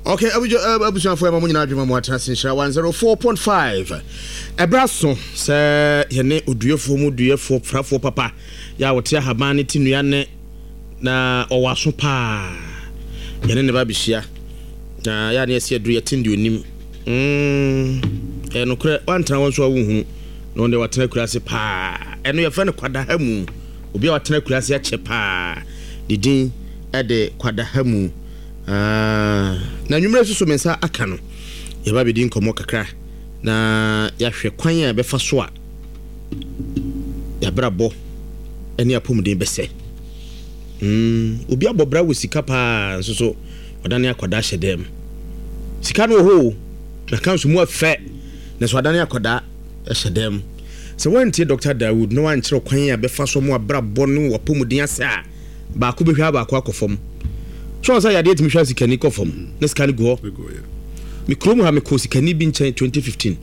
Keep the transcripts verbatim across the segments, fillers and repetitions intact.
Okay, abusuafoɔ, ɛma mo nyinaa adwuma mu atena se Nhyira one oh four point five. Ɛberɛ so sɛ yɛne oduafoɔ mu duafoɔ frafoɔ papa yɛ a wɔte ahaban ne te nnua ne na ɔwɔ aso paa, yɛne ne ba bɛhyia na yɛ a ne yɛsi aduru yɛten deɛ onim. Ɛyɛ nokorɛ, woantena hɔ nso a wonhunu na ɔno deɛ watena akura ase paa. Ɛno yɛfrɛ no kwadaha mu. Obi a watena akura ase akyɛ paa, ne din ɛde kwadaha mu. Ah, na nwummerɛ nso so me nsa aka no, yɛba bɛdi nkɔmmɔ kakra na yɛahwɛ kwan a yɛbɛfa so a yɛabrabɔ ne apɔmuden bɛsɛ. mm, obi abɔ bra wɔ sika paa nso so ɔdane akwadaa hyɛ dɛm. Sika no wɔ hɔ o, na ka nso mu afɛ na so adane akwadaa hyɛ dɛm. Sɛ woantie Doctor Dawood na woankyerɛ kwan a bɛfa so mu abrabɔ ne wapɔmuden asɛ a, baako bɛhwɛ a baako akɔ fam so sɛ yadeɛ tumi hwɛ sikani kɔ fam na sika no gu hɔ. Me kurom ha, mekɔ sikani bi nkyɛn twenty fifteen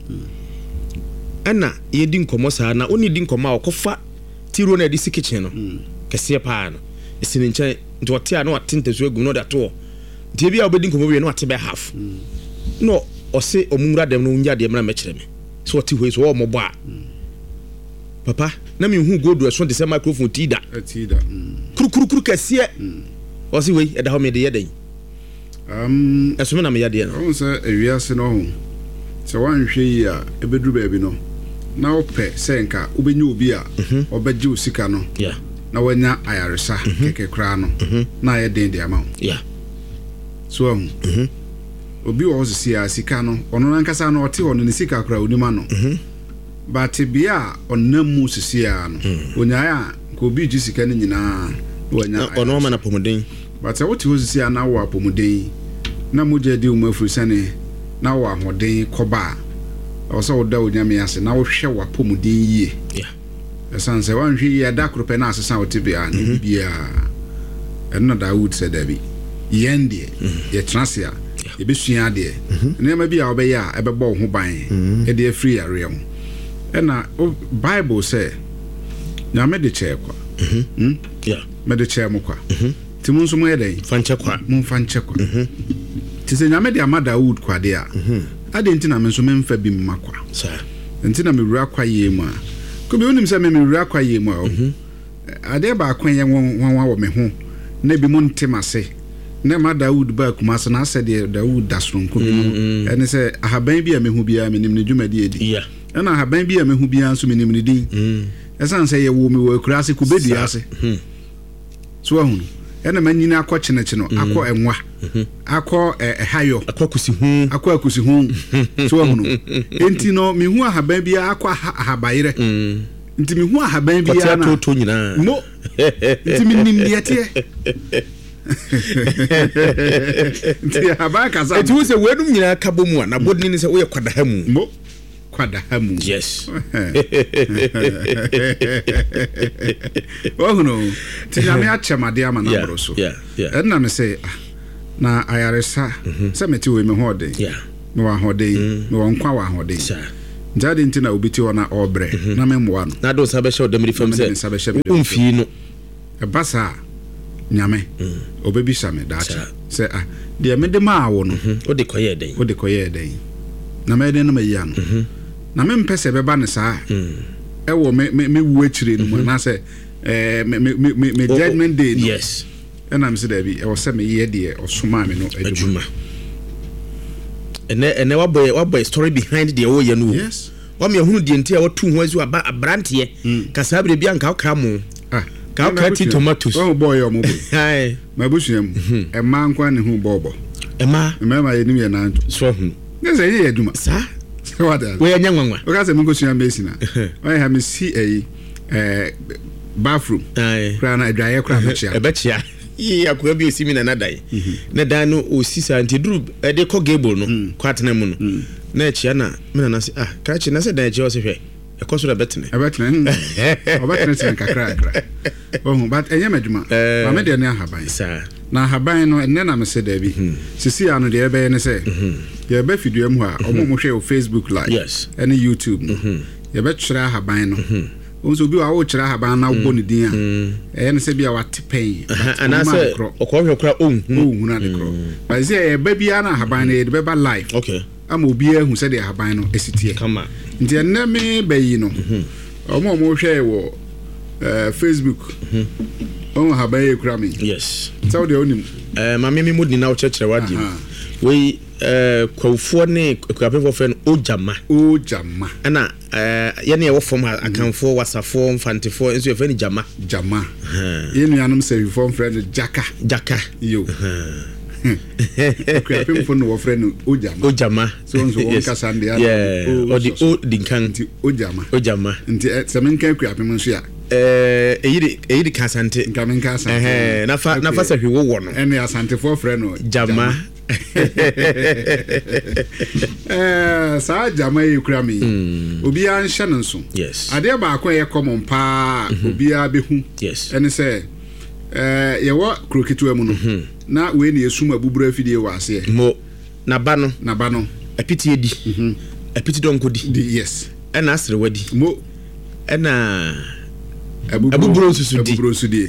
ɛna yɛdi nkɔmmɔ saa na wone di nkɔmmɔ a ɔkɔfa tiro no a yɛde si kitchen no kɛseɛ paa no ɛsi ne nkyɛn, nti ɔte a na wate ntasuo agu na ɔde ato hɔ. Nti ebi a wobɛdi nkɔmmɔ wie na wate bɛ half na ɔse ɔmo nwura dɛm no ɔnya adeɛ mmra mɛkyerɛ me sɛ ɔte hɔ yi so ɔwɔ mmɔbɔ a papa na mehu gold ɛso te sɛ microphone tii da kurukurukuru kɛseɛ. Ɔse wei ɛda hɔ, mede yɛ dɛn? Um, ɛso me na meyɛ deɛ no. Ɔhu sɛ ewiase no ho sɛ woanhwɛ yi a, ɛbɛduru baabi no na wopɛ sɛ nka wobɛnya obi a ɔbɛgye wo sika no yeah. na wanya ayaresa kɛkɛ koraa no na ayɛ den de ama wo. yeah. So ahu obi wɔ hɔ sisi a sika no, ɔno nankasa no ɔte hɔ no ne sika koraa onim ano, but bea a ɔnam mu sisi a no onyae a nka obi gye sika no nyinaa na wanya na ɔno ama no apɔmuden. But sɛ wote hɔ sisi a na wɔ apɔmuden na mogya di wo mu afiri sɛne na wɔ ahoɔden kɔba a, ɛwɔ sɛ woda Onyame ase na wohwɛ w'apɔmuden yie. yeah. Ɛsiane sɛ woanhwɛ yie a, da koro pɛ na asesa wo te bea na biribiaa ɛno na Dawood sɛ dabi, yɛn deɛ yɛtena ase a yɛbɛsua adeɛ, nneɛma bi a wobɛyɛ a ɛbɛbɔ wo ho ban ɛde afiri yareɛ ho. Ɛna o- Bible sɛ Nyame de kyɛɛ kwa. Hmm? Yeah. Mede kyɛɛ mo kwa, nti mo nso moyɛ dɛn? Fa nkyɛ kwa. Momfa nkyɛ kwa. Nti sɛ Nyame de ama Dawood kwadeɛ a, adɛn nti na me nso memfa bi mma kwa? Saa. Nti na mewura kwayie mu a, kobi wonim sɛ me mewura kwayie mu a o adeɛ baako a ɛyɛ nwanwa wɔ me ho na ebi mo nte m'ase na ma Dawood ba Kumase na asɛ deɛ Dawood da soronko bi no, ɛne sɛ ahaban bi a mehu biara, menim ne dwumadi adi. Yeah. Ɛna ahaban bi a mehu biara nso, menim ne din, ɛsiane sɛ yɛwɔ me wɔ akura ase, kubedua ase so ahu no, ɛna manyini akɔ kyenekyene, akɔ ɛnwa, akɔ ɛ- ɛhayɔ, akɔ kusi ho. Akɔ akusi ho so ahu no. Enti no mehu ahaban biara akɔ aha- ahabayerɛ, nti mehu ahaban kɔte biara na atoto nyinaa. Mo nti menim deɛ teɛ, nti ahaban kasa. Ɛnti wo sɛ weinom nyinaa ka bɔ mu a, na bɔdini ne sɛ woyɛ kwadaha mu. Mo kwadaha mu. Yes. Wahu no, nti Nyame akyɛ m adeɛ ama no Yeah, aboro so. yeah, yeah. Ɛnna me sɛ ah, na ayaresa sɛ mete wei, me ho ɔden, Yeah. mewɔ ahoɔden, mewɔ nkwa, wɔ ahoɔden. Saa. Nti ade nti na obi te hɔ na ɔrebrɛ na memmoa no? Na de wo nsa bɛhyɛ wo dɛm fam Na mede me nsa bɛhyɛ sɛ me dɛm womfii no. Ɛba saa a, Nyame ɔbɛbisa me daakye Saa. sɛ ah, deɛ mede maa wo no, wode kɔyɛɛ dɛn? Wode kɔyɛɛ dɛn? Na mɛyɛ dɛn na mayi ano na mempɛ sɛ ɛbɛba ne saa ɛwɔ me me me wu akyire no mu anaasɛ ɛɛ me me me me me judgment day no. Yes ɛna me sɛ daabi, ɛwɔ sɛ meyɛ deɛ ɔsomaa me no adwuma. Adwuma. ɛnɛ ɛnɛ wabɔ yɛ wabɔ yɛ story behind deɛ wɔyɛ no o. Yes. Wama yɛhunu deɛ nti a watu ho azu aba aberanteɛ ka saa berɛ bi anka wokra mo ah ka wokra ti tomatoes. Wɔn bɔɔl yɛ ɔmo bɔ. Aye. M'abusua mu, mmaa nko ne ho bɔɔbɔ. Ɛma mmarima yɛnim yɛ nanto. So ahunu. Ne sɛ ɛyɛ yɛ adwuma. Saa. Sɛ wate ase. Wɔyɛ nyɛ nwanwa. Woka sɛ menkɔsua mason a, ɔyɛ ha mesi ɛyi ɛɛ bathroom Aye. koraa na adwaeɛ koraa mɛkyea. Ɛbɛkyea yie. Akoa bi osi mi nana dan na dan no osi saa, nti duru ɛde kɔ gable no kɔ atena mu no na ɛkyea, na me nana sɛ, "Ah, krakye, na sɛ dan ɛkyea?" Ɔsɛ, "Hwɛ, ɛkɔ so na ɛbɛtene." Ɛbɛtene, hmm. Ɔbɛtenetene kakra kakra ɔhu, but ɛnyɛ m'adwuma. Eh. Maame deɛ ne ahaban. Saa. Na ahaban no, ɛnnɛ na mese daabi, sisi a no deɛ ɛbɛyɛ ne sɛ yɛbɛ fidua mu hɔ a, ɔmo a mohwɛ wɔ Facebook Live Yes. ɛne YouTube no, yɛbɛkyerɛ ahaban no. Wɔn nso, obi wɔ a wokyerɛ ahaban na wobɔ ne din a, ɛyɛ no sɛ bi a wate pɛn. Anaasɛ ɔkɔhwɛ kora ɔnhunu. Ɔnhunu ade korɔ, but sɛ ɛba biara na ahaban no yɛde bɛba live okay ama obiara ahu sɛdeɛ ahaban no esi teɛ. Kama. Nti ɛnnɛ me bɛyi no, ɔmo a ɔmo hwɛ wɔ ɛɛ Facebook, ɔmo ahaban yɛ kura mi. Yes sɛ wodeɛ wonim. uh, maame mi mu di na wokyerɛkyerɛ wadeɛ Aha. mu wei, uh, kwawufoɔ ne akuapemfoɔ frɛ no ogyama. Ogyama. Ɛna uh, yɛne ɛwɔ fam ha, Akanfoɔ, Wasafoɔ, Mfantefoɔ nso yɛfrɛ no gyama. Gyama. Yɛn nuanom sɛwifoɔ mfrɛ no jaka. Jaka. Yo, akuapemfoɔ no wɔfrɛ no ogyama. Ogyama. So nso wɔn kasa no deɛ Yeah, o ɔde sɔ so. O di nkan. Nti ogyama. Ogyama. Nti ɛ, sɛ menka akuapem nso a, Eh, ɛyi de ɛyi de ka Asante. Nka menka Asante. Ɛhɛn, nafa nafa sɛ hwee wowɔ no. Ɛne Asantefoɔ frɛ no gyama. Ɛɛ, saa gyama yi kura mi yi, obiara nhyɛ no nso. Yes adeɛ baako a ɛyɛ common paa a obiara bɛhu yes ɛne sɛ ɛɛ yɛwɔ kuro ketewa mu no, na wei na yɛsum abuburo afidie wɔ aseɛ. Mo naba no. Naba no. Apiti edi, apiti dɔnko di. Di, yes. Ɛna aserewa di. Mo. Ɛna abuburo. Abuburo nso so di. Abuburo nso die.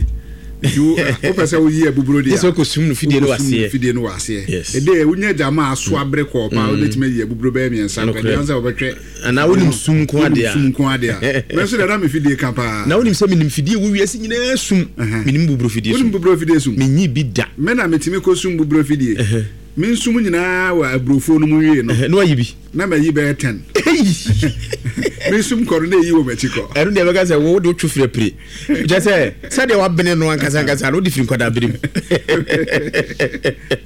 Nti wo wopɛ sɛ woyi abuburo deɛ yɛ sɛ wokɔsum no fidie no wɔ wokɔsum no aseɛ. Fidie no wɔ aseɛ. Yes. Ɛde wonya gyama aso abere kɔɔ paa, wobɛtumi ayi abuburo bɛyɛ mmiɛnsa. Nokorɛ. Nkwadeɛ sɛ wobɛtwɛ. Anaa wonim sum nko adeɛ a. Wonim sum nko adeɛ a, mɛ nso deɛ na me fidie ka paa. Na wonim sɛ menim fidie wɔ wiase nyinaa sum. Ɛhɛn. Menim buburo fidie Wonim sum. buburo fidie sum. Menyi bi da. Me na metumi kɔ sum buburo fidie. Me nsum nyinaa wɔ aburofuo no mu wie no, Ɛhɛn, na wayi bi. Na mayi bɛyɛ ten. Me nsum kɔ no na ɛyi wɔ m'akyi kɔ. Ɛno deɛ bɛka sɛ wo wode wotwo firi apire kyɛ sɛ sɛdeɛ wabene no ankasa ankasa no, wode firi nkwadaa berem.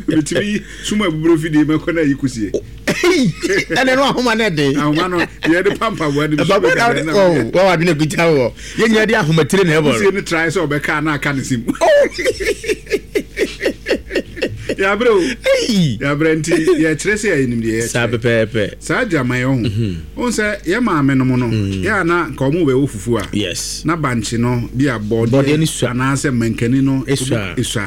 Metumi yi sum abuburo fidie mɛkɔ na ayi kusie. Ɛnɛ no ahoma no ɛden. Ahoma no yɛde pampaboa no bi so bɛka na wawadwene kuta wɔ yɛnyina de ahomatire na ɛbɔ. Kusie no trae sɛ ɔbɛka na aka ne sim. Yɛabrɛ o. Ei! Yɛabrɛ, nti yɛkyerɛ sɛ yɛnim deɛ saa yɛkyerɛ. Pɛpɛɛpɛ. Saa gyama yɛ ho wohu sɛ yɛ maame nom no, yɛ a na nka ɔmo bɛwɔ fufuo a, yes na bankye no bi a bɔdeɛ bɔdeɛ no sua. Anaasɛ mankani no. Esua. Esua.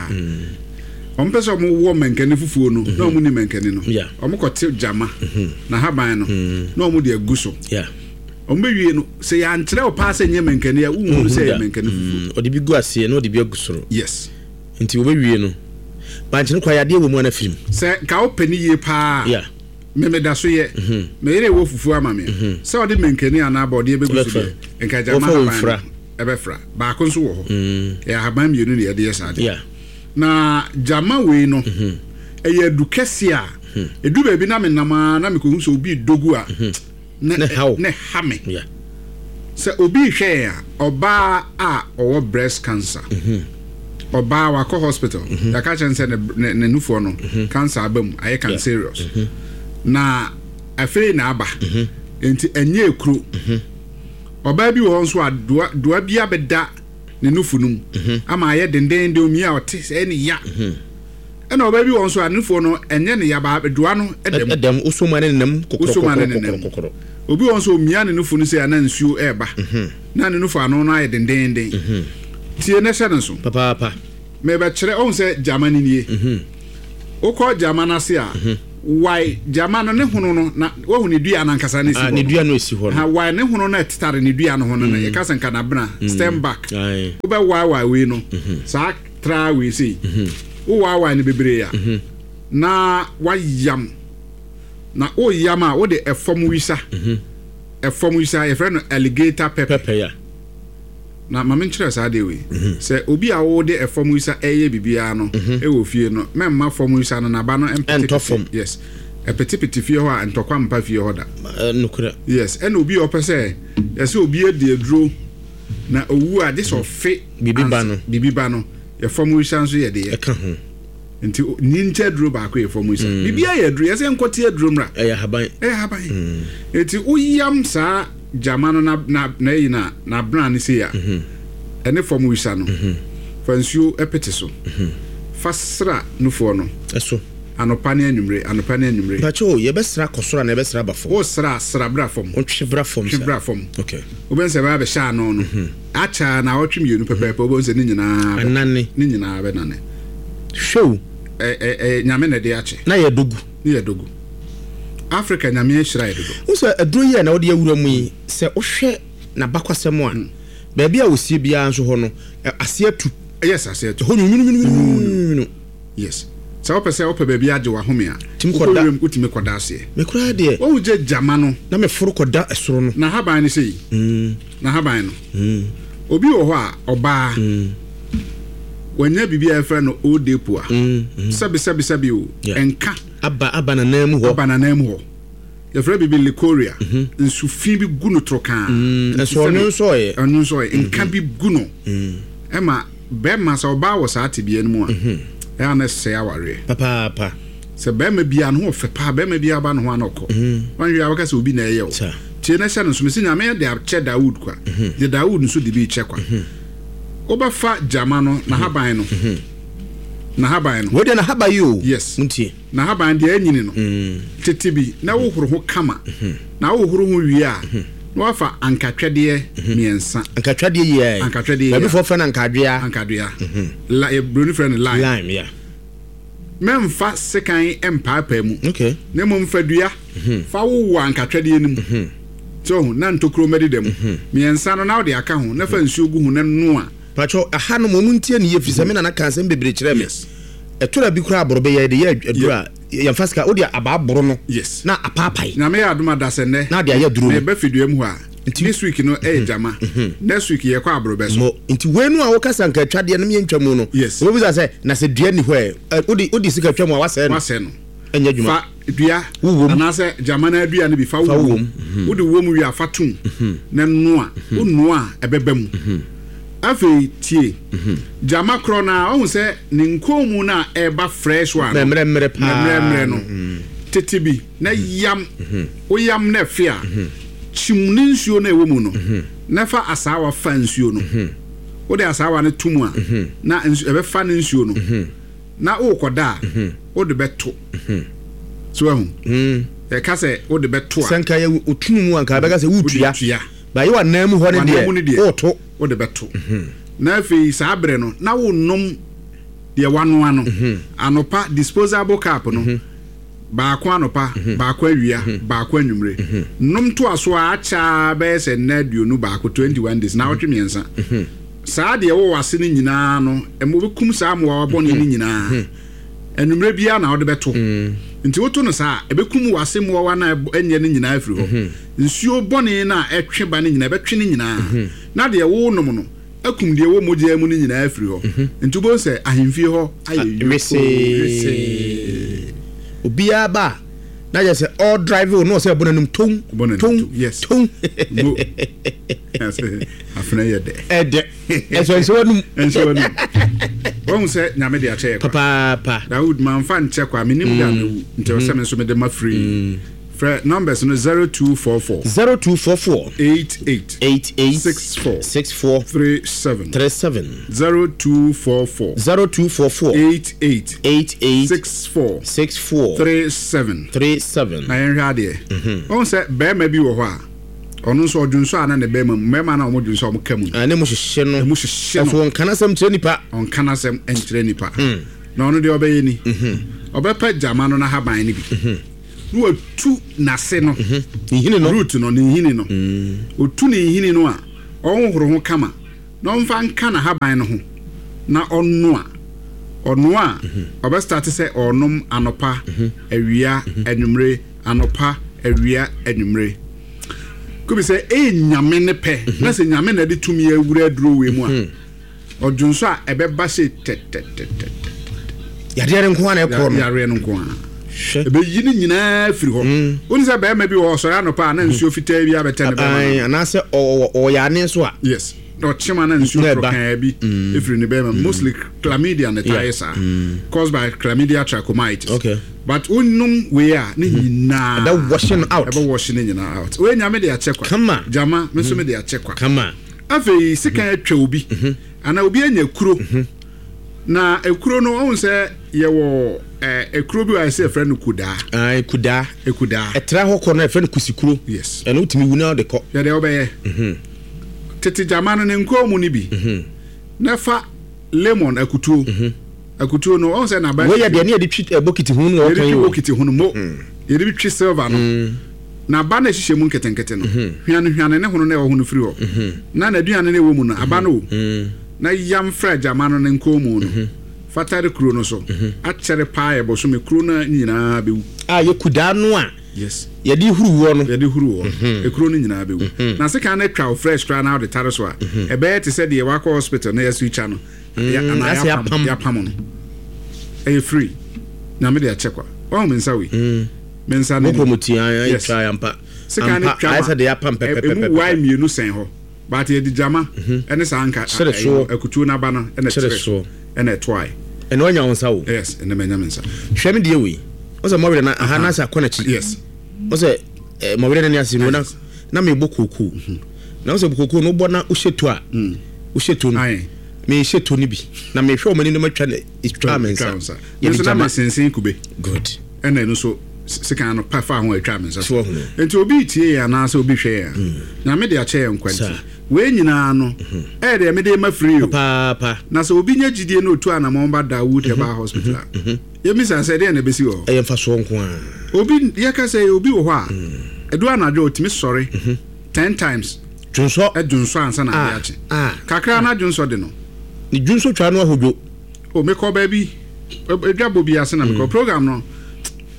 Ɔmo pɛ sɛ ɔmo wɔ mankani fufuo no na ɔmo ni mankani no, Yeah. ɔmo kɔte gyama na haban no na ɔmo de agu so. Yeah ɔmo bɛwie no, sɛ yɛankyerɛ wo paa sɛ nyɛ mankani a, wonhunu sɛ yɛ mankani fufuo. Mm, ɔde bi gu aseɛ na ɔde bi agu soro. Yes. Nti wɔbɛwie no, bankye no kora yadeɛ wɔ mu ana firim. Sɛ nka wopɛ ne yie paa, yeah memeda so yɛ meyere wɔ fufuo ama me sɛ ɔde mankani anaa bɔdeɛ bɛgu so Ɛbɛfra. deɛ, nka gyama Wɔfa wɔ haban mfra. no ɛbɛfra. Baako nso wɔ hɔ, ɛyɛ ahaban mmienu na yɛde yɛ saa deɛ. Yeah na gyama wei no ɛyɛ adu kɛseɛ a ɛdu baabi na menam a na mekɔhu sɛ obi dogu a Ne haw. Ne ha me. Yeah sɛ obi hwɛ yɛn a, ɔbaa a ɔwɔ breast cancer, ɔbaa wakɔ hospital, yɛaka kyerɛ no sɛ ne- ne ne nufoɔ no cancer aba mu, ayɛ cancerous, na afei na aba nti ɛnyɛ ekuro. Ɔbaa bi wɔ hɔ nso a doa doa bi abɛda ne nufu no mu ama ayɛ dendenden, omi a ɔte sɛ ɛne ya. Ɛna ɔbaa bi wɔ hɔ nso a ne nufoɔ no ɛnyɛ ne ya ba, doa no ɛda mu. Ɛdam wosoma ne nenam. Wosoma ne nenam. Kɔkɔrɔkɔkɔrɔkɔrɔ. Obi wɔ nso omia ne nufu no sɛ ana nsuo ɛɛba na ne nufu ano no ayɛ dendenden. Tie ne hyɛ ne so. Papaapa. Mɛbɛkyerɛ ɔhun sɛ gyama no nie. Wokɔ gyama no ase a, wae gyama no ne hono no na wahu ne dua no ankasa ne si Ah, hɔ ne no. dua no esi hɔ Ha no. wae ne hono no ɛtetare ne dua no ho no no yɛka sɛ nkanabena stem back. Aye. Wobɛwaewae wei no saa tra wei sei, wowaawae no bebree a, na wayam na woyam a, wode ɛfɔm wisa, ɛfɔm wisa yɛfrɛ no alligator pepper. Pɛpɛ ya. Na maame nkyerɛ saa deɛ wei sɛ obi a wode ɛfɔm wisa ɛyɛ biribiara no ɛwɔ fie no, mɛmma fɔm wisa no naba no ɛntɔ fam. Yes, ɛpetepete fie hɔ a, ntɔkwa mpa fie hɔ da. Eh, nokorɛ. Yes, ɛna obi a ɔpɛ sɛ yɛsɛ obi adi aduro na owu a, gye sɛ ɔfe biribi ba ans- no. Biribi ba no, yɛfɔm wisa nso yɛ deɛ ɛka ho. Nti o- ni nkyɛ aduro baako yɛ fɔm wisa, biribiara yɛ aduro, yɛsɛ nkɔte aduro mmra. Ɛyɛ ahaban. Ɛyɛ haban. Eti woyam saa gyama no na na na ɛyi na na abena ne sei a, ɛne fɔm wisa no, fa nsuo ɛpete so, fa sra nufoɔ no. Ɛso. Anɔpa ne anwummere, anɔpa ne anwummere. Mpakyɛ o, yɛbɛsra kɔ soro anaa yɛbɛsra aba fam? Wo sra, sra bra fam. Wotwe bra fam. Twe sa bra fam. Okay wobɛn sɛ ɛbɛba bɛhyɛ ano no akyɛ na awɔtwe mmienu pɛpɛɛpɛ, wobɛhu sɛ ne nyinaa bɛ- anane. Ne nyinaa bɛnane. Hwɛ o. ɛ ɛ ɛ Nyame na ɛde akyɛ. Na yɛ dogu. Ne yɛ dogu. Africa, Nyame ahyira yɛ dodo. Wo sɛ aduro yi a na wode awura mu yi, sɛ wohwɛ n'abakwasɛm a Baabi a wɔsie biara nso hɔ no, aseɛ atu. Yes, aseɛ atu. Hɔ nwunwunwunwunwunu. Yes, sɛ wopɛ sɛ wopɛ baabi agye wahome a, tumi kɔda, wotumi kɔda aseɛ. Me koraa deɛ, wɔn gye gyama no na meforo kɔda ɛsoro no. Na haban no sei, na haban no, obi wɔ hɔ a ɔbaa wanya biribi a yɛfrɛ no odepo a, sɛbi sɛbi sɛbi o, ɛnka aba aba nanan mu hɔ. Aba nanan mu hɔ, yɛfrɛ biribi likoria, nsufi bi gu no torokaa. Ɛso ɔno nso ɔyɛ ɔno nso ɔyɛ nka bi gu no. Ɛma bɛrima, sɛ ɔbaa wɔ saa tebea no mu a, ɛyɛ na ɛsɛ awareɛ papaapa. Sɛ bɛrima biara ne ho ɔfɛ paa, bɛrima biara ba ne ho ana ɔkɔ wɔn hwɛ a, wɔka sɛ obi na ɛyɛ o. Tie na hyɛ no nso, mesi Nyame de akyɛ Dawood kwa de, Dawood nso de bi kyɛ kwa. Wobɛfa gyama no n'ahaban no, n'ahaban no. Wei deɛ n'ahaban yi o. Yes. Ntie. N'ahaban deɛ ɛnyini no, tete bi na wohoro ho kama. Na wohoro ho wie a, na wafa ankatwɛdeɛ mmiɛnsa. Ankatwɛdeɛ yi. Ankatwɛdeɛ. Baabi fɔ fɛ no ankadwea. Ankadwea, la buroni frɛ no lime. Lime, yeah. Mɛmfa sekan mpaapaa mu. Okay. Na mmom fa dua fa wowɔ ankatwɛdeɛ no mu sɛ ɔho na ntokuro mmɛdeda mu mmiɛnsa no, na wode aka ho na fa nsuo gu ho na noa. Patwɛ, aha no mo mu ntie ne yie, firi sɛ me nana ka asɛm bebree kyerɛ me. Ɛtora bi koraa, aborɔ bɛyɛ de yɛ aduro a yɛmfa sika wode aba aboro no. Yes. Na apaapae. Nyame yɛ adom ada sɛ nnɛ na de ayɛ duro no. Meba fidua mu hɔ a, this week no ɛyɛ gyama, next week yɛkɔ aborɔbɛ so. Mo nti wei no a wokasa nka atwadeɛ no meyɛntwa mu no. Yes. Wobɛbisa sɛ na sɛ dua ni hɔ ɛ, wode wode sika twa mu a, wasɛe no. Wasɛe no. Ɛnyɛ adwuma. Fa dua Wowɔ mu. Anaasɛ gyama no adua no bi fa fa wowɔ wowɔ mu. Wode wɔ mu wie a, fa tom na noa. Wonoa a, ɛbɛba mu. Afei tie, gyama korɔ no a, ɔhu sɛ ne nkɔn mu no a ɛba fresh one no, mmerɛmmerɛ paa. Mmerɛmmerɛ no, tete bi na yam. Woyam na ɛfe a, kyim ne nsuo no a ɛwɔ mu no na fa asaawa fa nsuo no. Wode asaawa no to mu a, na nsu ɛbɛfa ne nsuo no na wokɔda a, wode bɛto so ahu. Ɛka sɛ wode bɛto a, sɛ nka yɛ otunu mu a, nka bɛka sɛ wotua. Wode tua. Ba yɛ wanan mu hɔ no. Wanan mu no deɛ deɛ, woto. Wode bɛto na afei saa berɛ no na wonom deɛ wanoa no anɔpa, disposable cup no baako anɔpa, baako awia, baako anwummere. Nom to aso a akyɛ bɛyɛ sɛ nna aduonu baako, twenty-one days, na awɔtwe mmiɛnsa. Saa deɛ wɔwɔ ase no nyinaa no, ɛma wobɛkum saa mmoawa bɔne no nyinaa. Anwummerɛ biara na wode bɛto. Nti woto no saa a, ɛbɛkum wɔ ase mmoawa no a ɛbɔ- ɛnyɛ no nyinaa afiri hɔ. Nsuo bɔne no a ɛtwe ba no nyinaa, ɛbɛtwe no nyinaa, na deɛ wonom no akum deɛ ɛwɔ mogya mu no nyinaa afiri hɔ. Nti wobɛhu sɛ ahemfie hɔ ayɛ yoko. Wesee. Wesee. Obiara ba a, na yɛ sɛ all drive o, na ɔsɛ ɛbɔ n'anum tom. Bɔ n'anum tom. tom, yes. Tom. Mo afena yɛ dɛ. Ɛdɛ ɛsɛ nhyɛ w'anum. Ɛnhyɛ w'anum. Wɔhu sɛ Nyame de akyɛ yɛ kwa. Papaapa. Dawood mamfa nkyɛ kwa, menim da mewu, nti ɛwɔ sɛ me nso mede ma free. Frɛ numbers no zero two four four zero two four four eight eight eight eight six four six four three seven three seven zero two four four zero two four four eight eight eight eight six four six four three seven three seven. Na yɛnhwɛ adeɛ. Ɔhu sɛ bɛrima bi wɔ hɔ a, ɔno nso ɔdwonso a, na ne bɛrima mu, mmarima no a ɔmo dwonso a, ɔmo ka mu no, ne mu hyehyɛ no. Ɛmu hyehyɛ no. Ɛso ɔnka n'asɛm kyerɛ nipa. Ɔnka n'asɛm nkyerɛ nipa. Na ɔno deɛ ɔbɛyɛ ni, ɔbɛpɛ gyama no n'ahaban no bi na watu n'ase no. Nhini no. Root no, ne nhini no. Otu ne nhini no a, ɔnhohoro ho kama na ɔmfa nka n'ahaban no ho na ɔnoa. Ɔnoa a, ɔbɛstart sɛ ɔnom anɔpa, awia, anwummere, anɔpa, awia, anwummere. Kobi sɛ ɛyɛ Nyame ne pɛ na sɛ Nyame na ɛde tumi awura aduro wei mu a, ɔdwonso a, ɛbɛba sɛ tɛtɛtɛtɛ. Yadeɛ no nko a na ɛkorɔ no. Yareɛ no nko a. Hwɛ. Ɛbɛyi no nyinaa firi hɔ. Wone sɛ bɛrima bi wɔ hɔ, ɔsɔre anɔpa a, na nsuo fitaa bi abɛtɛ ne bɛrima Ae, no. Anaasɛ ɔwɔ ɔyɛ ane so a. Yes, na ɔkyema na nsuo Na ɛba. torokaa bi ɛfiri ne bɛrima mu. Mostly chlamydia na ɛtaa yɛ saa, caused by Chlamydia trachomatis. Okay. But wonom wei a, ne nyinaa ɛbɛ wash no out. Ɛbɛ wash ne nyinaa out. Wei Nyame de akyɛ kwa. Kama. Gyama me nso me de akyɛ kwa. Kama. Afei sekan atwa obi anaa obi anya kuro, na ekuro no, ɔhu sɛ yɛwɔ ɛɛ ekuro bi a yɛsɛ yɛfrɛ no kudaa. Ae, kudaa. Ekudaa. Ɛtra hɔ kɔ no, ɛfrɛ no kusikuro. Yes. Ɛno wotumi wu na wode kɔ. Yɛdeɛ wobɛyɛ, tete gyama no ne nkɔn mu no bi na fa lemon, akutuo, akutuo no, ɔhu sɛ naba. Wei yɛ deɛ ne yɛde twi eh, bokiti ho no. Yɛde wɔka yi twi o. Bokiti ho no mo, yɛde bi twi silver no. Na aba no ɛhyehyɛ mu nketenkete no, hwane hwane ne hono na ɛwɔ ho no firi hɔ, na n'aduane no ɛwɔ mu no, aba no o, na yam fra gyama no ne nkɔn mu no, fatare kuro no so akyɛre paa, yɛ bɔsome, kuro no nyinaa bɛwu. A yɛ kudaa no a Yes. yɛde huru woɔ no. Yɛde huru wɔ ekuro no nyinaa bɛwu. Na sekan no atwa wo fresh koraa na wode tare so a, ɛbɛyɛ te sɛ deɛ wakɔ hospital na yɛso twa no Ya- anaa asɛ yɛapam yɛapam. Yɛapam no, ɛyɛ free. Nyame de akyɛ kwa. Wahu me nsa wei, me nsa no bɔkɔ ni. mu tia. Yes. Twa ampa. Sekan no ampa twa ayɛ ma sɛ de yɛapam ɛ- emu wae pɛpɛpɛpɛ. Mmienu sɛn hɔ, but yɛde gyama ɛne saa nka Kyerɛ ɛyi soɔ. no, akutuo n'aba no ɛna Kyerɛ kyerɛ soɔ. Ɛna ɛtoae. Ɛna wanya wo nsa wo. Yes, ɛna manya me nsa. Hwɛ me deɛ wei, wo sɛ mɔwerɛ na aha na sɛ akɔ n'akyi. Yes. Wo sɛ eh, mɔwerɛ no ne ase no na na mebɔ kookoo, na wo sɛ kookoo no wobɔ na wohyɛ to a, wohyɛ to no. Aye. Mehyɛ to no bi na mehwɛ ɔmani no, matwa ne ɛtwa me Twa nsa. wo nsa. Yɛde nso na gyama. Mesensen kube. Good. Ɛna ɛno nso sekan no pa fa ho a atwa me nsa. So wahu no. Nti obi tie yɛn anaasɛ obi hwɛ yɛn a, Nyame de akyɛ yɛn nkwa nti Saa. Wei nyinaa no ɛyɛ deɛ mede ma free o. Paapa. Na sɛ obi nya gyidie na otu anammɔn ba Dawood Herbal Hospital a, yɛmisa sɛ deɛ na ɛbɛsi wɔ hɔ? Ɛyɛ mfasoɔ nko a. Obi yɛka sɛ obi wɔ hɔ a, ɛdu anadwo a, ɔtumi sɔre ten times. Dwonsɔ. Ɛdwonsɔ ansa na Ah, ade akye. ah. Kakra na dwonsɔ de no. Ne dwonsɔ twa no ahodwo. O, mekɔ baabi, edwa bɔ bi ase na mekɔ program no,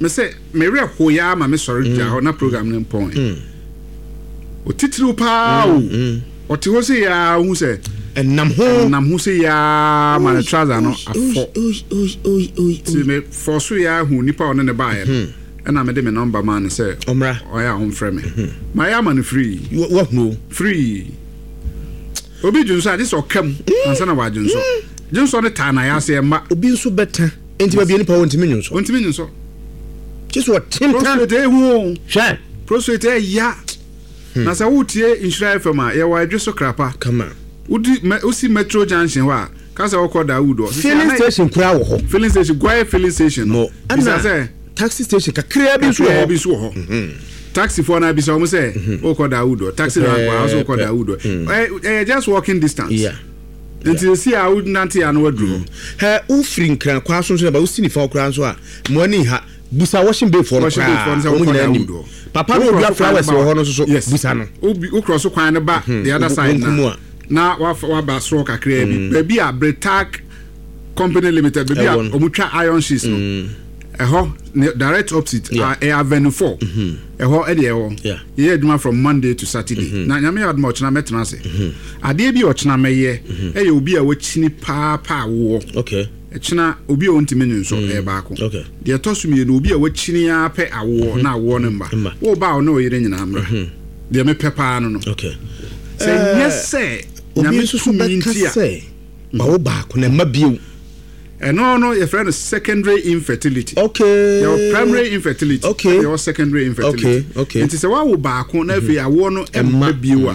me sɛ mewerɛ hoyaa ma mesɔre gya hɔ na program no mpɔn. Otitiriw paa o, ɔte hɔ sɛ yaa ohu sɛ ɛnam ho. Nam ho sɛ yaa ma ne trouser no afɔ. Nti me fɔ so yaa hu nipa a ɔne ne baeɛ no, ɛna mede me number maa no sɛ ɔmmra. Ɔyɛ a ɔmfrɛ me. Mayɛ ama no free. Wahunu o. Free. Obi dwonsɔ a, gye sɛ ɔka mu ansa na wadwonsɔ. Dwonsɔ no taa na yɛ ase ɛmma. Obi nso bɛta nti baabi a nipa wɔ ntumi nwonsɔ. Ɔntumi nwonsɔ. Kye sɛ ɔtentan. Prostate ehu o. Hwɛ. Prostate ɛya. Na sɛ wotie Nhyira F M a, yɛwɔ Adwe so Krapa. Kama. Wodi me, wosi Metro Junction hɔ a, ka sɛ wokɔ Dawood hɔ. Filling station koraa wɔ hɔ. Filling station, Guaye filling station no. Mo bisa ɛna sɛ taxi station kakraa bi nso wɔ kakraa bi hɔ. nso wɔ hɔ. Taxi foɔ no abisa wɔn sɛ wokɔ Dawood hɔ, taxi rank hɔ a, wosɛ wokɔ Pɛpɛɛpɛ. Dawood hɔ. Ɛyɛ ɛyɛ just walking distance. Yeah. Nti esi a wonante a na waduru hɔ. Hɛ, wofiri Nkran kwaa so nso na ba wosi nifa hɔ koraa nso a, mo ani ha, busa washing bay foɔ no. Washing bay foɔ no sɛ koraa wɔn wokɔ nyinaa nim Dawood hɔ. papa no. Wokɔ Odua so kwan no flowers ba wɔ hɔ no nso so. Yes. Busa no. Wobi wokorɔ so kwan no ba the other Wo- side wonkum na a. Na wafa waba soro kakraa bi, baabi a Bretac Company Limited, baabi a Ɛwɔ no. ɔmo twa iron sheets no, ɛhɔ ne direct opposite. Yeah. A ɛyɛ Avenue Four, ɛhɔ ɛde ɛwɔ. Yeah. Yɛyɛ adwuma from Monday to Saturday. Na Nyame yɛ adom a, ɔkyena mɛtena ase. Adeɛ bi a ɔkyena mɛyɛ ɛyɛ obi a wakyini paapaa woɔ. Okay ɛkyena obi a ɔntumi nwe nso ɛyɛ baako. Okay. Deɛ ɛtɔ so mmienu, obi a wakyini ara pɛ awoɔ na awoɔ no mba. Mba. Woba a, ɔne ɔyere nyinaa mmra. Deɛ mepɛ paa no no okay sɛ nyɛ sɛ obi Nyame nso so tumi bɛka nti a sɛ bawo baako na ɛma bio. Ɛno no yɛfrɛ no secondary infertility. Okay yɛwɔ primary infertility, Okay. yɛwɔ secondary infertility. Okay, okay. Nti sɛ woawo baako na afei awoɔ no Ɛmma. ɛmma bio a,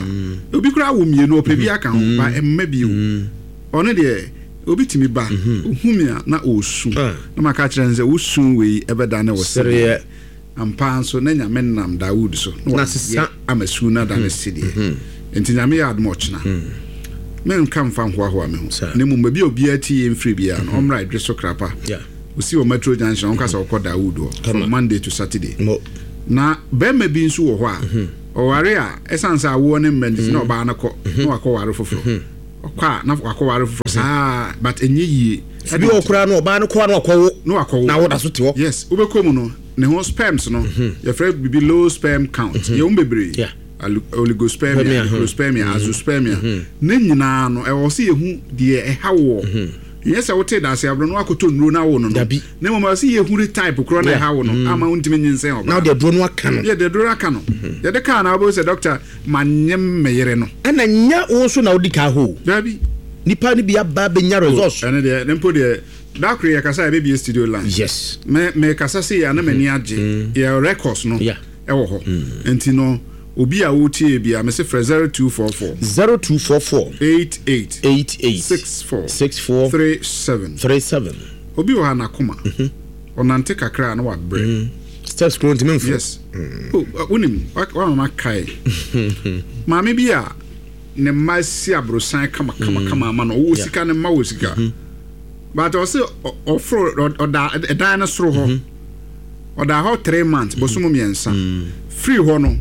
obi koraa wo mmienu, ɔpɛ bi aka ho ba, ɛmma bio. Ɔno deɛ, obi tumi ba ohu mi a na ɔresu. Ah. Na maka kyerɛ no sɛ wosu wei ɛbɛda ne wɔ sereɛ. Ampa nso na Nyame nam Dawood so na Na wayɛ sesa. Ama su no ada ne sedeɛ. Nti Nyame yɛ adom, ɔkyena menka mfa nhoahoa me ho. Saa. Na mmom baabi a obiara tie yɛ mfiri biara no, ɔmmra Adwe so Krapa. Yeah. Osi wɔ Metro Junction, ɔnka sɛ ɔkɔ Dawood hɔ Kama. from Monday to Saturday. Mo. Na bɛrima bi nso wɔ hɔ a ɔware a, ɛsiane sɛ awoɔ ne mma nti, na ɔbaa no kɔ na wakɔ ware foforɔ, ɔkɔ a na wakɔ ware foforɔ saa, but ɛnyɛ yie. Bi wɔ koraa no, ɔbaa no kɔa no ɔkɔwo. Na wakɔwo. Na woda so te hɔ. Yes, wobɛkɔ mu no, ne ho sperms no, yɛfrɛ biribi low sperm count. Yɛwɔ mu bebree. Yeah. Alu- oligospermia, Spermia, hmm. necrospermia, azoospermia ne nyinaa no, ɛwɔ sɛ yɛhu deɛ ɛha wɔ. Nyɛ sɛ wote daase aborɔ no wakɔtɔ nnuro no awo no no Dabi. Na mmom ɛwɔ sɛ yɛhu ne type korɔ na Yeah. ɛha wo no ama wontumi nyinsɛn Na ɔbaa. wode aduro no aka no. Yɛde aduro aka no, yɛde kaa na wobɛhu sɛ doctor manyem me yere no. Ɛna nya wo nso na wodi ka hɔ. Dabi. Nipa no bi aba bɛnya results. Ɛno deɛ ne mpo deɛ, da koro yɛkasa a, yɛbɛbie studio line. Yes me mekasa se yɛ a na m'ani agye. Yɛ records no Yeah. ɛwɔ hɔ. Nti no obi a wotie bi a, mese frɛ zero two four four zero two four four eight eight eight eight six four six four three seven. three seven. Obi wɔ ha n'akoma, ɔnante kakra a na wabrɛ. Steps kuro ntumi mfo. Yes. Oh, uh, wonim wa- wamama kae maame bi a ne mma si aborosan kama kama kama ama no, ɔwɔ Yeah. sika, ne mma wɔ sika, but ɔse ɔ- ɔforo ɔ- ɔda ɛdan no soro hɔ. Ɔda hɔ three months, bosom mmiɛnsa. Firi hɔ no,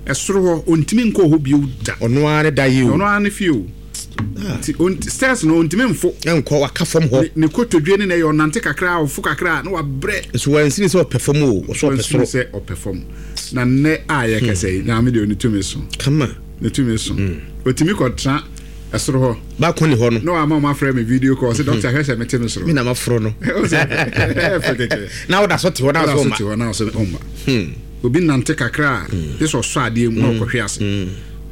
ɛsoro hɔ ɔntumi nkɔ hɔ bio da. Ɔno ara ne da yi o. Ɔno ara ne fie o, nti ɔnt- stairs no ɔntumi mfo. Ɛnkɔ, waka fam hɔ. ne ne kotodwe ne na ɛyɛ ɔnante kakra, ɔfo kakra na wabrɛ. Nso wansini sɛ ɔpɛ fam o, ɔso ɔpɛ Wansini soro. Sɛ ɔpɛ fam na nnɛ a yɛkɛsɛ yi, Nyame deɛ, ɔne tumi so. Kama. Ne tumi so, ɔtumi kɔtena ɛsoro hɔ. Baako ne hɔ no. Na wama ɔma frɛ me video call sɛ, "Doctor, hwɛ sɛ mete no soro." Me na maforo no. Ɛwɔ sɛ- ɛyɛ fɛ kɛkɛ. Na woda so te hɔ na na so so ma te hɔ na ɔsɛ ɔmma obi nante kakra a, gye sɛ ɔsɔ adeɛ mu na ɔkɔhwe ase.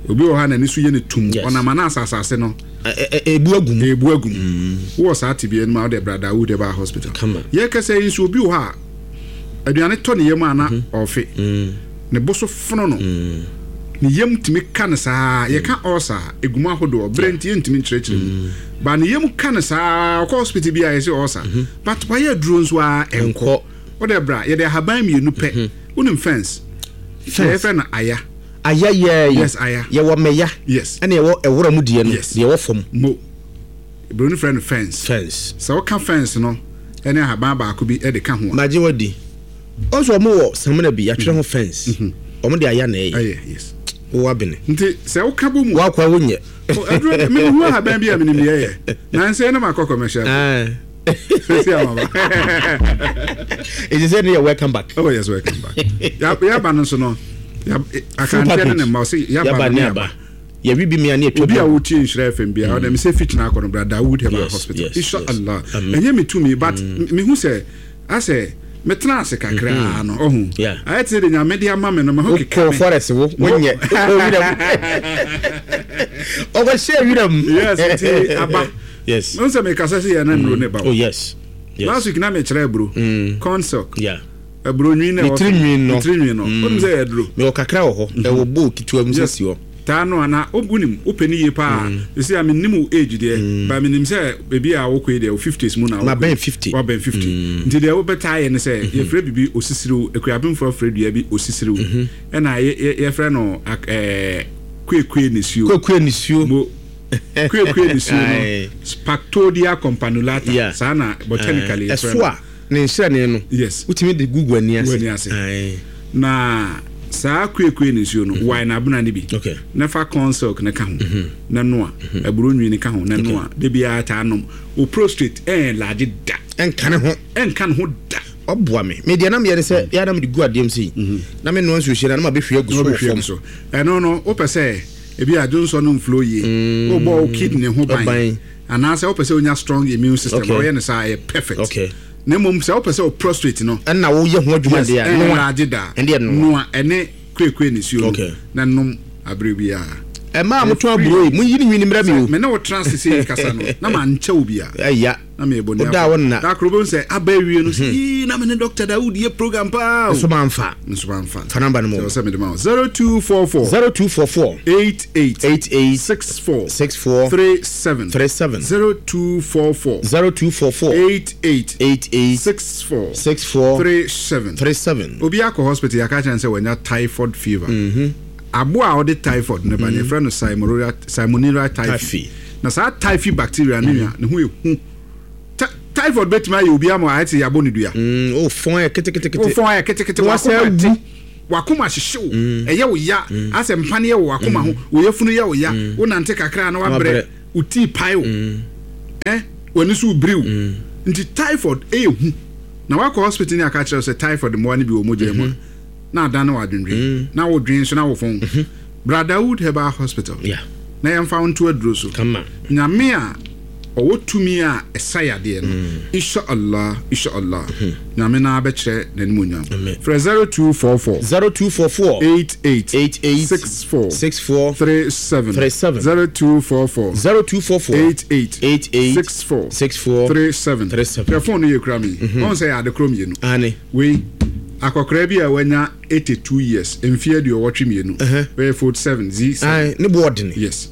Obi wɔ hɔ a n'ani so yɛ ne tum. Yes. Ɔnam ana asase no Ɛ- ɛ- ɛ- ebu agu mu. Ebu agu mu. Wowɔ saa tebea no mu a, wode bra Dawood Herbal Hospital. Kama. Yɛkɛsɛ yi nso, obi wɔ hɔ a aduane tɔ ne yam a na ɔfe, ne bo so fono no, ne yam tumi ka no saa. Yɛka ɔsa a ɛgu mu ahodoɔ berɛ nti yɛntumi nkyerɛkyerɛ mu ba. Ne yam ka no saa, ɔkɔ hospital bi a yɛsɛ ɔsa, but wayɛ aduro nso a ɛnkɔ. Ɛnkɔ. Wode bra, yɛde ahaban mmienu pɛ. Wonim fence? Fence. Yɛfrɛ no aya. Aya yɛ. Yes, aya. Yɛwɔ mɛya. Yes. Ɛna yɛwɔ ɛwura mu deɛ no. Yes. Deɛ ɛwɔ fam. Mo buroni frɛ no fence. Fence. Sɛ woka fence no ɛne ahaban baako bi ɛde ka ho a, Magye wadi. Ɔnso ɔmo wɔ samina bi yɛatwerɛ ho fence, ɔmo de aya na ɛyɛ. Ɛyɛ, yes. Wowɔ abene. Nti sɛ woka bɔ mu, wakɔ a wonyɛ. Aduro mehu ahaban bi a menim deɛ ɛyɛ nansɛ na makɔ commercial. Ah. Sɛsi amaba. Ɛsɛ sɛ ne yɛ welcome back. Oh yes, welcome back. Ya- yaba no nso no, yab- akanteɛ ne ne mma ɔsɛ yaba yaba no ne ne aba aba. Yɛwi bi mia ne yɛtwa Obi bi a agu. wotie Nhyira F M bia, ɔdɛ mesɛ fikyina akɔ no, bra Dawood Herbal Yes, Hospital. yes, Inshallah. yes. Amen. Ɛnyɛ me tumi, but mehu sɛ asɛ metena ase kakraa no, ɔhu Yeah. ayɛ te sɛ de Nyame de ama me no, maho keka wokɔ me. Forest wo wonyɛ, wokɔ wiram, ɔkɔhyɛ wiram. Yes, nti aba. Yes. Mehu sɛ mekasa sɛ yɛ na nnuro ne ba. Oh yes yes Last week na mekyerɛ aburo, corn silk, yeah aburo nwi na Ne ɛwɔ so. tiri nwi no. Ne tiri nwi no, wonim sɛ yɛ aduro? Mewɔ kakra wɔ hɔ, ɛwɔ bowl ketewa mu sɛ si hɔ. Taa no ana wonim wopɛ ne yie paa. Ɛsi a mennim wo age deɛ, ba menim sɛ baabi a wokɔ yi deɛ, wo fifties mu na wokɔ yi. Mabɛn fifty. Wabɛn fifty, nti deɛ wobɛtaa yɛ ne sɛ yɛfrɛ biribi osisiriw. Akuapemfoɔ frɛ dua bi osisiriw, ɛna yɛ- yɛ- yɛfrɛ no ak- ɛɛ, kuekue nisuo. Kuakua nisuo. Mo kuekue nisuo Aye. no, Spathodea campanulata. Yeah. Saa na botanically yɛfrɛ ɛso no. a ne nhyerɛne no, Yes. wotumi de gugu ani ase. Gu ani ase. Aye. Na saa kuekue nisuo no, wae n'abena no bi Okay. na fa corn silk ne ka ho na noa aburo nwi ne ka ho na noa de biara taa nom. O prostate ɛn large da. Ɛnka ne ho. Ɛnka ne ho da. Ɔboa me. Me deɛ nam yɛ ne sɛ yɛ nam de gu adeɛ mu sei na me noa nsuo hyɛ na na ma bɛhwie agu so na wɔ wobɛhwie fam. gu so. Ɛno no, wopɛ sɛ ebi adwonsɔ no mflow yie, wobɔ wo kidney ho ban, Ban. anaasɛ wopɛ sɛ wonya strong immune system, Okay. ɔyɛ no saa, ɛyɛ perfect. Okay. Na mmom sɛ wopɛ sɛ wo prostate no ɛnna woyɛ ho adwuma yes, deɛ a noa. Ɛn large da. Ɛndeɛ noa. Noa ɛne kuekue nisuo no Okay. na nom aberɛ biara. Ɛmaa motɔn aburo yi, monyi ne nwini mmrɛ me o. Me ne wo tena ase sɛ kasa no na mankyɛ wo bia. Ɛya. Na meyɛ bɔne. Woda wo nna. Da koro bɛhu sɛ aba awie no sɛ, "Yii, na me ne Doctor Dawood yɛ program paa o." Nso mamfa. Nso mamfa. Fa number no mu. Sɛ sɛ mede ma wo, zero two four four zero two four four eight eight eight eight six four six four three seven. three seven. zero two four four zero two four four eight eight eight eight six four six four three seven. three seven. Obi akɔ hospital, yɛaka kyerɛ no sɛ wanya typhoid fever. Aboa a ɔde typhoid no ba no, yɛfrɛ no Salmonella Salmonella typhi. Typhi. Na saa typhi bacteria no nua ne ho ɛhu. Ty- typhoid bɛtumi ayɛ obi ama ayɛ te yɛabɔ ne dua. Mm, o fɔn yɛ ketekete. Wofɔn ayɛ ketekete. Na wasɛ wakoma awu. te wakoma hyehye wo, ɛyɛ wo ya, asɛ mpaneɛ wɔ wakoma ho, wo yafunu yɛ wo ya, wonante kakra na wabrɛ, Wabrɛ. wo tii pae wo, ɛ w'ani so biriw. Nti typhoid ɛyɛ hu na wakɔ hospital ne aka kyerɛ wo sɛ typhoid mmoa no bi wɔ mogya mu a, na adane wɔ adwendwen na wodwen so na wofɔn. Bra Dawood Herbal Hospital Yeah. na yɛmfa wo nto aduro so. Kama. Nyame a ɔwɔ tumi a ɛsa yadeɛ no, inshallah, inshallah, Nyame na abɛkyerɛ n'animonyam. Amen. Frɛ zero two four four zero two four four eight eight eight eight six four six four three seven. three seven. zero two four four zero two four four eight eight eight eight six four six four three seven. three seven. Hwɛ, phone no yɛ kura mi, ɔn sɛ yɛ ade koro mmienu. Ane. Wei akɔkora bi a wanya eighty-two years, mfeɛ aduɔwɔtwe mmienu, wɔyɛ forty-seven z seven. Ae, ne bo ɔdene. Yes,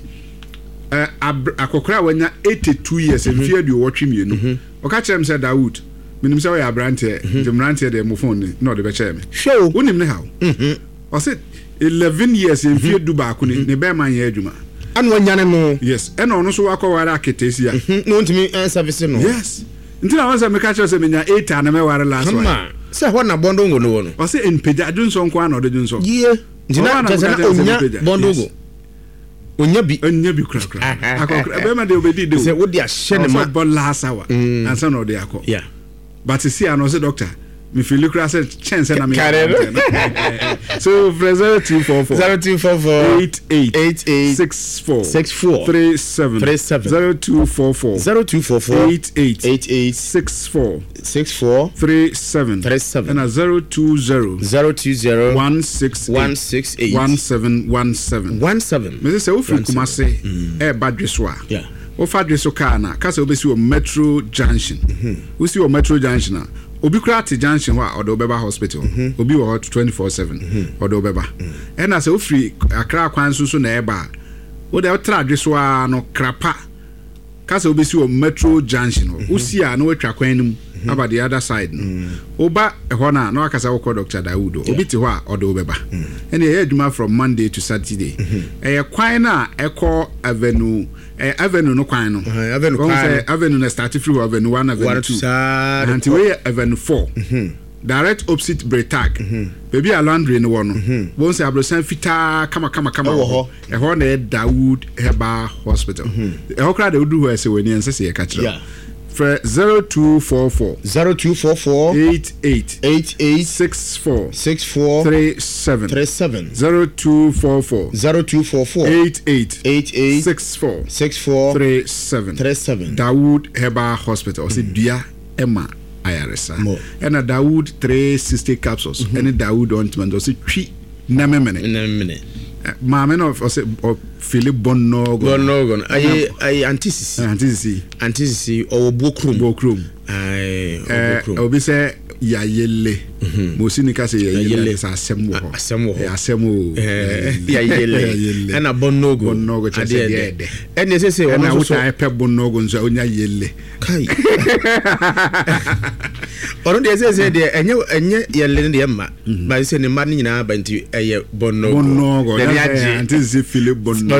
ɛ ab akɔkora a wanya eighty-two years, mfeɛ aduɔwɔtwe mmienu, ɔka kyerɛ m sɛ, "Dawood, menim sɛ wɔyɛ aberanteɛ, nti mmeranteɛ deɛ, mo phone ni," na ɔde bɛkyɛɛ me. Hwɛ o. Wonim ne haw? Ɔse eleven years, mfeɛ du baako ni ne bɛrima nyɛ adwuma. Ana wanyane no? Yes, ɛna ɔno nso wakɔware aketesia. Hmm, na ɔntumi ɛnsɛfise no. Yes, nti na wɔn sɛ meka kyerɛ sɛ menya eight a na mɛware last one. Kama. Sɛ hɔ na bɔndongo no wɔ no. Ɔsɛ mpagya dwonsɔ nko ara na ɔde dwonsɔ. Yie. Nti na kyerɛ sɛ na onya bɔndongo. Onya bi. Onya bi korakora. Akɔkora bɛrima deɛ obɛdi de o. Sɛ wode ahyɛ ne ma. Ɔsɛ bɔ last hour. Ansa na ɔde akɔ. Yeah. But si ano sɛ doctor me feel kura sɛ kyɛn sɛ na me yɛ. So frɛ zero two four four. Zero two four four. Eight eight. Eight eight. Six four. Six four. Three seven. Three seven. Zero two four four. Zero two four four. Eight eight. Eight eight. Six four. Six four. Three seven. Three seven. And a zero two zero. Zero two zero. One six. One six eight. One seven one seven. One seven. Mese sɛ wofiri Kumase ɛɛba Dweso a. Yeah. Wofa Dweso kaa na kasa wobɛsi wɔ Metro Junction. Wosi wɔ Metro Junction a. Obi kura te junction hɔ a ɔde wobɛba hospital. Obi wɔ hɔ twenty four seven. Ɔde wobɛba. Ɛna sɛ wofiri Accra kwan so so na ɛba a, wode wotra Dweso a no krapa. Kasa wobɛsi wɔ Metro Junction hɔ. Wosi a na woatwa kwan no mu aba the other side no. Woba ɛhɔ no a na wakasa wokɔ Doctor Dawood. Obi te hɔ a ɔde wobɛba. Ɛne ɛyɛ adwuma from Monday to Saturday. Ɛyɛ kwan no a ɛkɔ Avenue eh, Avenue no kwan no. Uh, Avenue kwan no. Avenue na start free hɔ Avenue one, Avenue two. Nti wei yɛ Avenue four. Direct opposite Bretag. Baabi a laundry no wɔ no. Wɔn sɛ aborosan fitaa kama kama kama wɔ hɔ. Ɛhɔ na yɛ Dawood Herbal Hospital. Ɛhɔ koraa de wodu hɔ ɛsɛ wɔ ani ɛnsɛ sɛ yɛka kyerɛ. Frɛ zero two four four. Zero two four four. Eight eight. Eight eight. Six four. Six four. Three seven. Three seven. Zero two four four. Zero two four four. Eight eight. Eight eight. Six four. Six four. Three seven. Three seven. Dawood Herbal Hospital. Ɔsɛ dua ɛma ayaresa. Ɛna Dawood three sixty capsules. Ɛne Dawood ointment. Ɔsɛ twi nɛmɛmɛnɛ. Nɛmɛmɛnɛ. Maame no ɔsɛ ɔfili bɔnnɔɔgɔ. Bɔnnɔɔgɔ ayi ayi antisisi. Antisisi. Antisisi ɔwɔ Buokrom. Buokrom. Ayi ɔwɔ Buokrom. Obi sɛ yayele. Mosi ni ka sɛ yayele sɛ asɛm wɔ hɔ. Asɛm wɔ hɔ. Asɛm o. Yayele. Ɛna bɔnnɔɔgɔ. Bɔnnɔɔgɔ kyerɛ sɛ deɛ ɛdɛ. Ɛna ɛsɛ sɛ ɔno nso so. Ɛna wotaa pɛ bɔnnɔɔgɔ nso a onya yele. Kai. Ɔno deɛ ɛsɛ sɛ deɛ ɛnyɛ ɛnyɛ yɛle no deɛ mma. Ba sɛ ne mma no nyinaa ba nti ɛyɛ bɔnnɔɔgɔ. Bɔnnɔɔgɔ. N'ani agye. Antisisi fili bɔnnɔɔgɔ.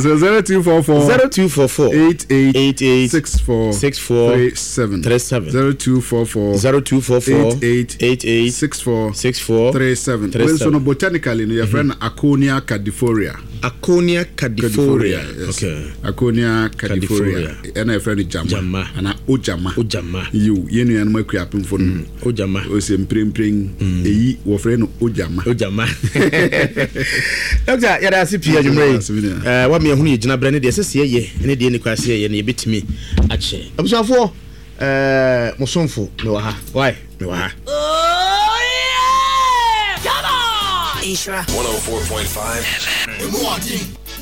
So zero two four four. Zero two four four. Eight eight. Eight eight. Six four. Six four. Three seven. Three seven. Zero two four four. Zero two four four. Eight eight. Eight eight. Six four. Six four. Three seven. Three Well, seven. so no, botanically, no, your friend Aconia cadifolia. Aconia cadifolia. Yes. Okay. Aconia cadifolia. And your friend Jama. Jama. And Ojama. Ojama. You, you know, I'm a phone. Ojama. O se mprim eyi wo friend Ojama. Ojama. Doctor, yada ase pia adwumre. Eh, wa me hunu ye gina bre ne de sese ye ne de ne kwase ye ne yebetimi ache. Abusuafo, eh mosomfo me wa ha. Why? Me wa ha. Oh yeah! Come on! Isra one oh four point five F M.